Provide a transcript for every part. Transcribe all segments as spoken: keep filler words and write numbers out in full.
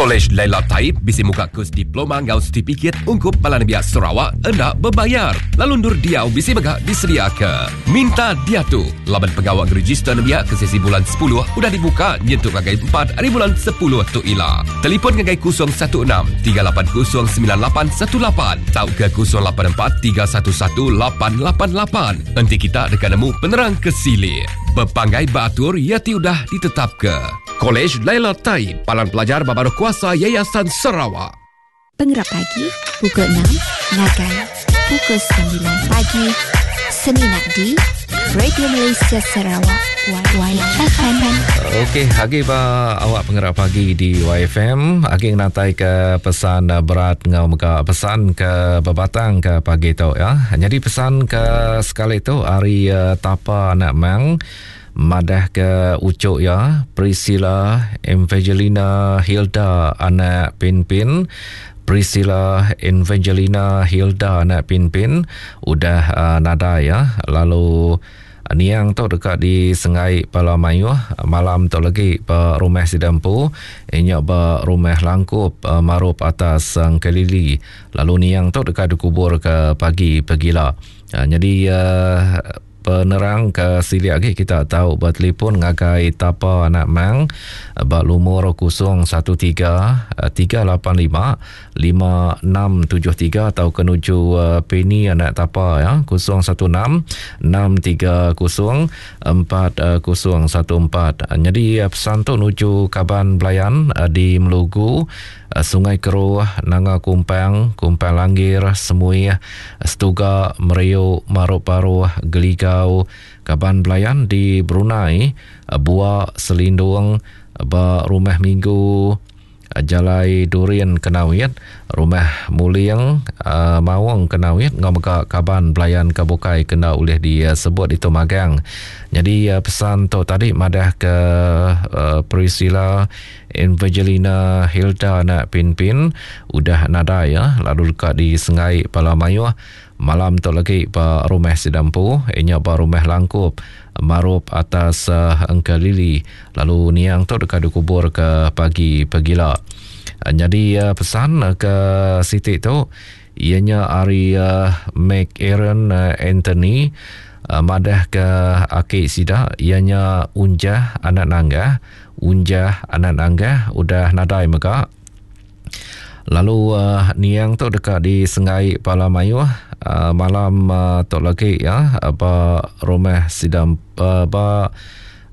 Kolej Laila Taib bisi muka kus diploma ngau sertifikat ungkup bala nembiak Sarawak enda bebayar. Lalu endur diau bisi mega disediaka. Minta diatu laban pengawa ngeregister nembiak ke sesi bulan sepuluh udah dibuka nyentuk ngagai empat hari bulan sepuluh tu ila. Telefon ngagai kosong satu enam tiga lapan kosong sembilan lapan satu lapan tauka kosong lapan empat tiga satu satu lapan lapan lapan. Enti kita deka nemu penerang ke silik. Bepanggai beratur ia ti udah ditetapka. Kolej Laila Taib, Palan Pelajar Babaruh Kuasa Yayasan Sarawak. Pengerap pagi pukul enam ngagai pukul sembilan pagi semina di Radio Malaysia Sarawak Y F M. Okey, agi ba awak pengerap pagi di Y F M, agi natai ke pesan berat ngau mega pesan ke bebatang ke pagi tu ya. Jadi pesan ke sekali tu hari uh, Tapa Anak Mang madah ke ucuk ya Priscilla Evangelina Hilda anak Pinpin. Priscilla Evangelina Hilda anak Pinpin udah uh, nadai ya. Lalu niang tu dekat di Sengai Pala Mayuh malam tu lagi ba rumah Sidampu inya ba rumah Langkup uh, Marup atas Sangkelili. Lalu niang tu dekat dikubur ke pagi pegila. Uh, jadi uh, penerang ke silik lagi kita tahu bertelefon ngagai Tapa Anak Mang ba lumur kosong satu tiga tiga lapan lima lima enam tujuh tiga atau ke nuju Penny Anak Tapa ya kosong satu enam enam tiga kosong empat kosong satu empat. Jadi pesan tu nuju kaban belayan di Melugu, Sungai Keruh, Nanga Kumpang, Kumpang Langgir, Semuih, Setuga, Meriuk, Maruk Paruh, Geligau, kaban belayan di Brunei, Buak, Selindung, ba Rumah Minggu, Jalai Durian Kenawit, Rumah Muling, uh, Mawang Kenawit, ngau mega kaban belayan ke bukai kena oleh disebut itu magang. Jadi uh, pesan tu tadi madah ke uh, Priscilla Evangelina Hilda anak Pinpin udah nadai ya, lalu dekat di Sengai Pala Mayuh malam tu lagi ba rumah Sidampu inya ba rumah Langkup Marup atas uh, Engkelili. Lalu niang tu dekat dikubur ke pagi pegila. Uh, jadi uh, pesan uh, ke Siti tu ianya ari uh, Mac Aaron uh, Anthony uh, madah ke aki sida ianya Unjah anak Nanggah. Unjah anak Nanggah udah nadai mega. Lalu uh, niang tu dekat di Sengai Pala Mayuh uh, malam uh, tu lagi ya ba rumah sidam uh, ba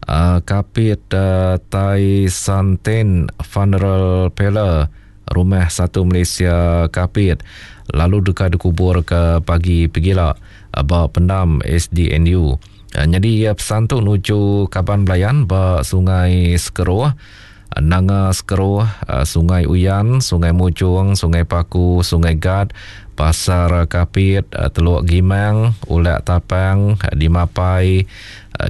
uh, Kapit uh, Tai Santen Funeral Parlour Rumah Satu Malaysia Kapit. Lalu dekat dikubur ke pagi pegila ba pendam S D N U. Uh, jadi uh, pesan tu nuju kaban belayan ba Sungai Sekeruh, Nanga Sekeruh, Sungai Uyan, Sungai Mujung, Sungai Paku, Sungai Gad, Pasar Kapit, Teluk Gimang, Ulak Tapang, di Mapai,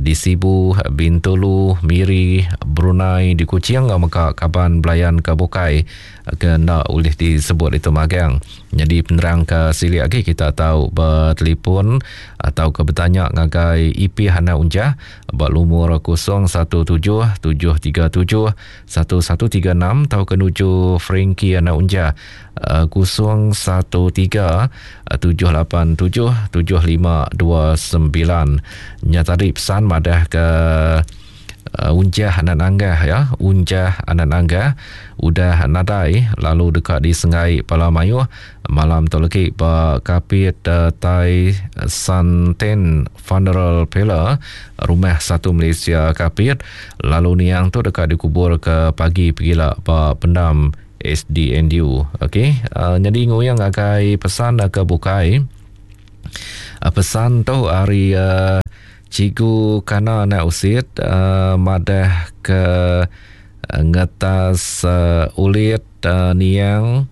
di Sibu, Bintulu, Miri, Brunei, di Kuching, maka kaban belayan ke bukai ke nak boleh disebut itu magang. Jadi penerang ke silik lagi kita tahu bertelefon atau ke bertanya ngagai I P Hana Unjah buat lumur kosong satu tujuh tujuh tiga tujuh satu satu tiga enam atau ke nuju Frankie Hana Unjah kosong satu tiga tujuh lapan tujuh tujuh lima dua sembilan. Nya tadi pesan madah ke uh, Unjah Anak Nanggah ya, Unjah Anak Nanggah udah nadai lalu dekat di Sengai Pala Mayuh malam tu lagi ba Kapit uh, Tai Santen Funeral Parlour Rumah Satu Malaysia Kapit. Lalu niang tu dekat dikubur ke pagi pegila ba pendam S D N U. Okey, uh, jadi nguyang agai pesan ke bukai. Uh, pesan tu hari uh, Cikgu Kana anak usit uh, madah ke uh, ngetas uh, ulit uh, niang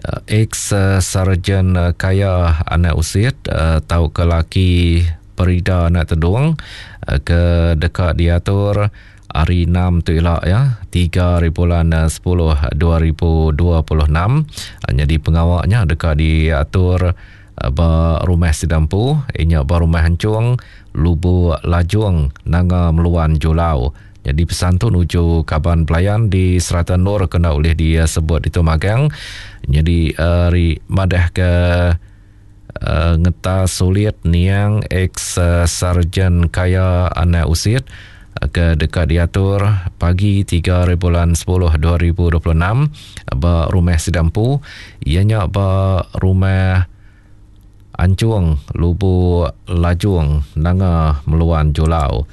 uh, ex uh, sarjan uh, kaya anak usit uh, tau ke laki Perida anak tedung uh, ke dekat diatur hari enam tu elak ya, tiga hari bulan sepuluh dua ribu dua puluh enam. Jadi pengawaknya dekat diatur ba rumah Sidampu, inya ba rumah Hancung, Lubu Lajung, Nanga Meluan Julau. Jadi pesan tu nuju kaban pelayan di Serata Nur kena oleh dia sebut itu magang. Jadi uh, ri madah ke uh, ngeta sulit niang ex uh, Sarjan Kaya Anak Usit ke dekat diatur pagi tiga bulan sepuluh dua ribu dua puluh enam ba rumah Sidampu, ianya ba rumah Ancung Lubu Lajung Nanga Meluan Julau.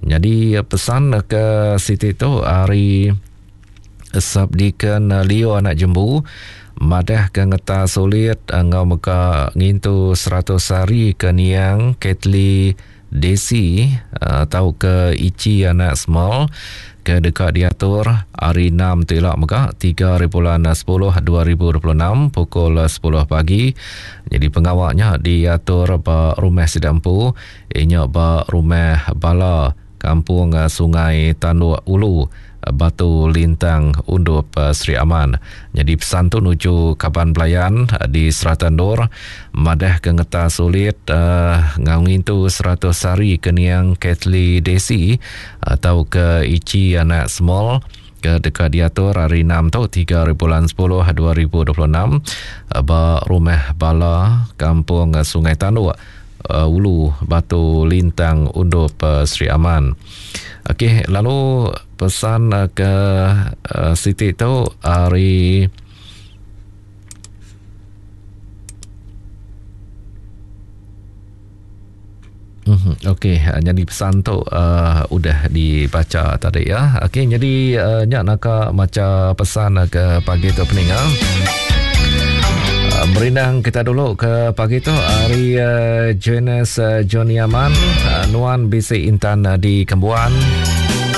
Jadi pesan ke Siti tu hari Subdeacon Leo Anak Jembu madah ke ngeta sulit ngau meka ngintu seratus hari ke niang Ketli Desi atau ke Ichi Anak Small ke dekat diatur hari enam tu elok mega tiga bulan sepuluh dua ribu dua puluh enam pukul sepuluh pagi. Jadi pengawaknya diatur ba rumah Sidampu, inya ba rumah Bala Kampung Sungai Tanduk Ulu Batu Lintang Undup Sri Aman. Jadi pesan tu nuju kaban pelayan di Serata Nur madah ke ngeta sulit uh, ngau ngintu seratus hari ke niang Ketli Desi atau ke Ichi Anak Small ke dekat diatur hari enam tu tiga bulan sepuluh dua ribu dua puluh enam ba rumah Bala Kampung Sungai Tanduk Ulu Batu Lintang Undup Sri Aman. Okey, lalu pesan ke uh, Siti tu hari mm-hmm. Okey, jadi pesan tu uh, udah dibaca tadi ya. Okey, jadi uh, nyak nak maca pesan ke pagi tu peninga. Uh, merindang kita dulu ke pagi tu hari uh, Jonas uh, Johnny Aman, uh, Nuan Bisi Intan uh, di Kembuan.